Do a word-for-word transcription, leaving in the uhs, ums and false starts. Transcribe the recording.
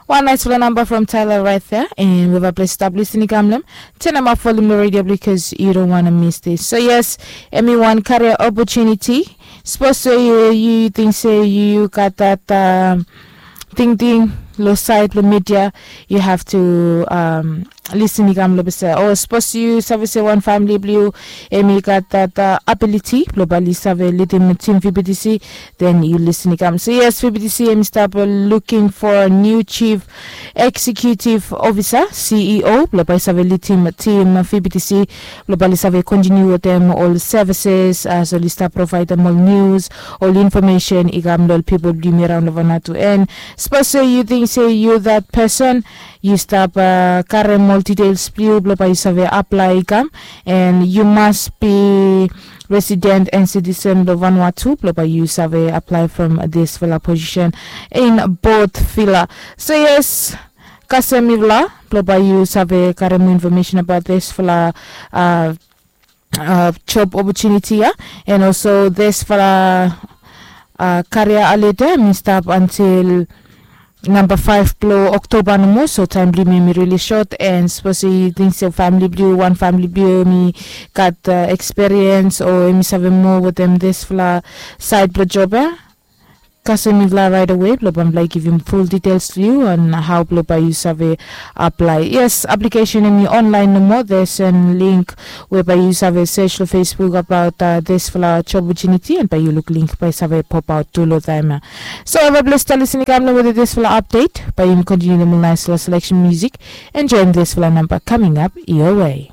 Wan naisfala namba from Tyler right there, and we have a place stop listening kamlem. Turn up volume the radio because you don't want to miss this. So yes, emi wan career opportunity. Suppose say you you think say you got that um, thing thing lo side lo media, you have to um, listen i kam lo bese. O suppose you save say one family blue, emi got that uh, ability lo bali save leading team V B T C, then you listen i kam. So yes, V B T C emi stop uh, looking for a new chief executive officer, C E O, blo bai save leading team V B T C, blo bai save continue with them all services, as well as stop provide them all news, all information i kam lo people blue me around lo Vanuatu. And suppose say you think say you that person, you stop uh, karem all details blue blo bai save apply i kam, and you must be resident and citizen lo Vanuatu blo bai you save apply from this fella position in both fella. So yes, kasem mifala blo bai you save karem information about this fella uh, uh, job opportunity ya, and also this fella uh, career alede mi stop until number five blo October nomo, so time blue mi mi really short, and suppose you think so family blue, one family blue mi got uh, experience or mi save more with them this fella side blo job ya. Kasem mifala right away blo bamfala give him full details to you on how blo bai you save apply. Yes, application emi online nomo, there's a link whereby you save search lo Facebook about uh, this fella job opportunity, and by you look link by save pop out to lo time. So have a blessed listening kam lo with this fella update. By him continue the nice fella selection music. Enjoy this fella number coming up your way.